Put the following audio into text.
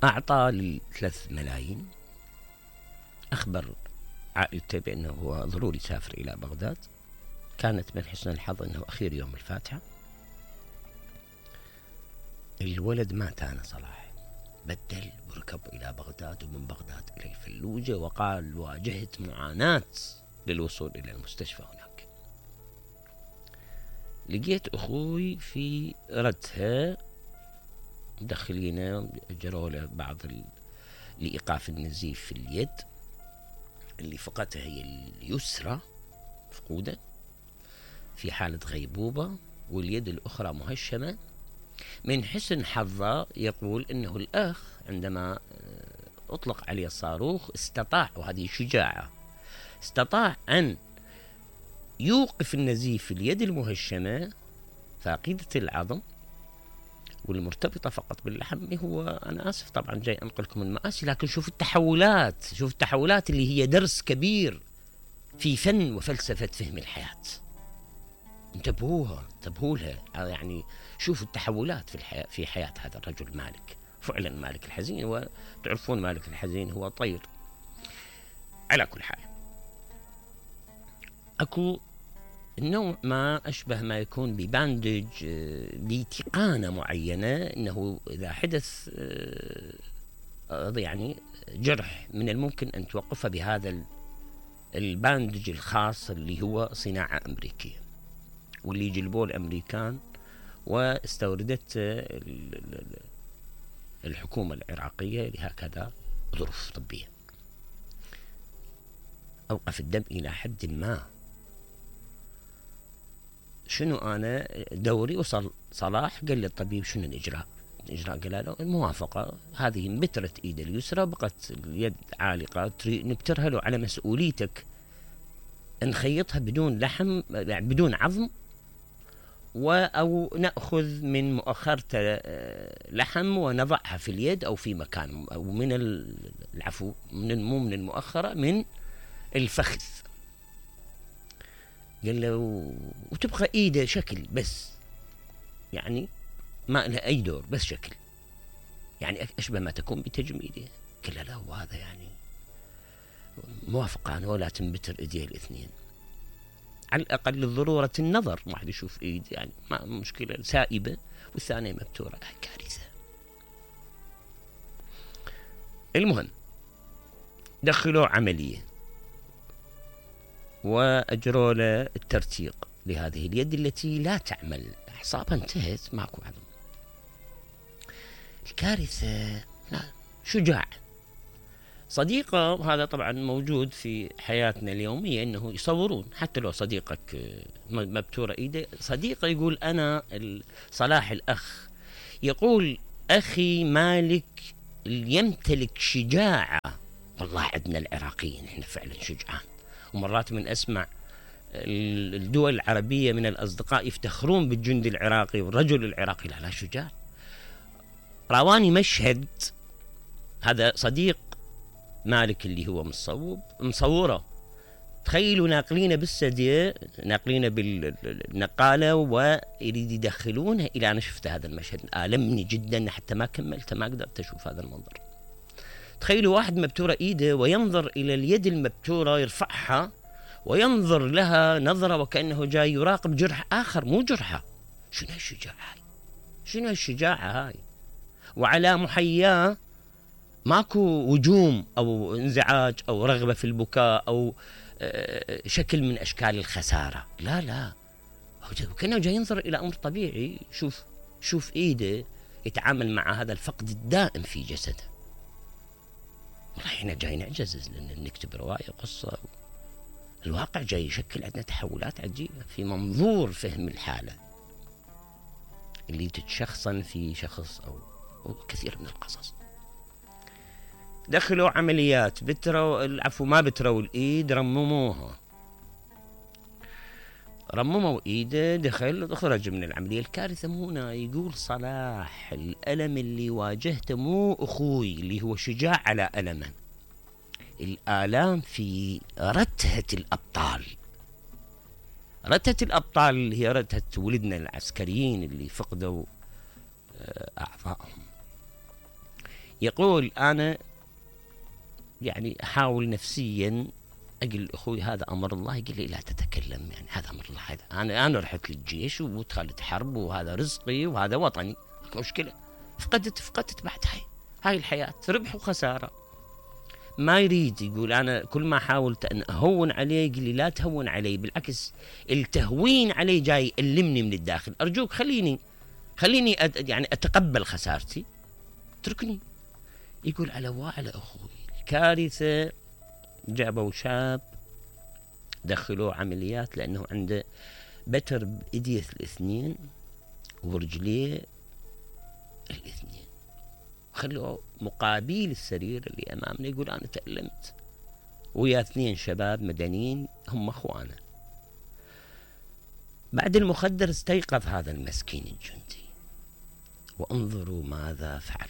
أعطى ل3 ملايين، أخبر عائلته بأنه هو ضروري يسافر إلى بغداد. كانت من حسن الحظ أنه أخير يوم الفاتحة. الولد مات أنا صلاح، بدل وركب إلى بغداد، ومن بغداد إلى الفلوجة، وقال واجهت معاناة للوصول إلى المستشفى هناك. لقيت أخوي في ردها مدخلينه، أجروا له بعض لإيقاف النزيف في اليد اللي فقدتها هي اليسرى، مفقودة في حالة غيبوبة، واليد الأخرى مهشمة. من حسن حظه يقول أنه الأخ عندما أطلق عليه الصاروخ استطاع، وهذه شجاعة، استطاع أن يوقف النزيف في اليد المهشمة فاقدة العظم والمرتبطة فقط باللحم. هو أنا آسف طبعا جاي أنقلكم المآسي، لكن شوف التحولات، شوف التحولات اللي هي درس كبير في فن وفلسفة فهم الحياة. انتبهوا لها، يعني شوفوا التحولات في حياة هذا الرجل مالك، فعلا مالك الحزين. وتعرفون مالك الحزين هو طير. على كل حال، أكو النوع ما أشبه ما يكون بباندج بتقانة معينة، أنه إذا حدث يعني جرح من الممكن أن توقفه بهذا الباندج الخاص اللي هو صناعة أمريكية، واللي جلبوه الأمريكان واستوردت الحكومة العراقية لهكذا ظروف طبية. أوقف الدم إلى حد ما. شنو أنا دوري؟ وصل صلاح قال لي الطبيب شنو الإجراء؟ قال له الموافقة. هذه انبترت إيد اليسرى، بقت اليد عالقة، نبترها له على مسؤوليتك، نخيطها بدون لحم، يعني بدون عظم، أو نأخذ من مؤخرة لحم ونضعها في اليد أو في مكان، أو من العفو مو من المؤخرة، من الفخذ. قال له وتبقى إيده شكل بس، يعني ما لها أي دور، بس شكل، يعني أشبه ما تكون بتجميده. قال له لا، وهذا يعني موافقة أنا، ولا تنبتر إيديه الاثنين، على الأقل لضرورة النظر، واحد يشوف إيد يعني ما مشكلة سائبة والثانية مبتورة، كارثة. المهم دخلوا عملية وأجروا له الترتيق لهذه اليد التي لا تعمل، أعصابها انتهت، ماكو عظم. الكارثة لا، شجاع. صديقه هذا طبعا موجود في حياتنا اليومية، انه يصورون حتى لو صديقك مبتورة ايده، صديقه يقول انا صلاح الاخ يقول اخي مالك يمتلك شجاعة. والله عندنا العراقيين احنا فعلا شجعان، ومرات من اسمع الدول العربية من الاصدقاء يفتخرون بالجندي العراقي والرجل العراقي. لا شجاع. راواني مشهد، هذا صديق مالك اللي هو مصوره، تخيلوا ناقلينه بالسدية، ناقلينه بالنقالة ويريد يدخلونه إلى، أنا شفت هذا المشهد آلمني جدا حتى ما كملت، ما قدرت أشوف هذا المنظر. تخيلوا واحد مبتورة إيده وينظر إلى اليد المبتورة، يرفعها وينظر لها نظرة وكأنه جاي يراقب جرح آخر مو جرحه. شنو هالشجاعة هاي؟ شنو هالشجاعة هاي؟ وعلى محياه ماكو وجوم أو انزعاج أو رغبة في البكاء أو شكل من أشكال الخسارة. لا، كأنه جاي ينظر إلى أمر طبيعي. شوف إيده يتعامل مع هذا الفقد الدائم في جسده. والله إحنا جاي نعجز لأن نكتب رواية قصة، الواقع جاي يشكل عندنا تحولات عجيبة في منظور فهم الحالة اللي تتشخصن في شخص أو كثير من القصص. دخلوا عمليات، ما بتروا الإيد، رمموا إيده، دخل خرج من العملية. الكارثة مو هنا. يقول صلاح الألم اللي واجهته مو أخوي اللي هو شجاع على ألمه، الآلام في رتهة الأبطال. رتهة الأبطال اللي هي رتهة ولدنا العسكريين اللي فقدوا أعضائهم. يقول أنا يعني أحاول نفسيا أقول أخوي هذا أمر الله، يقول لي لا تتكلم، يعني هذا أمر الله، هذا أنا رحت للجيش ودخلت حرب وهذا رزقي وهذا وطني، اكو مشكلة. فقدت بعد هاي الحياة، ربح وخسارة. ما يريد، يقول أنا كل ما حاولت أن أهون عليه يقول لي لا تهون علي، بالعكس التهوين علي جاي يألمني من الداخل، أرجوك خليني يعني أتقبل خسارتي، اتركني. يقول على أخوي الكارثة، جابوا شاب دخلوه عمليات لأنه عنده بتر بإيديه الاثنين ورجليه الاثنين، خلوه مقابل السرير اللي أمامنا. يقول أنا تألمت ويا 2 شباب مدنيين هم أخوانا. بعد المخدر استيقظ هذا المسكين الجندي، وانظروا ماذا فعل.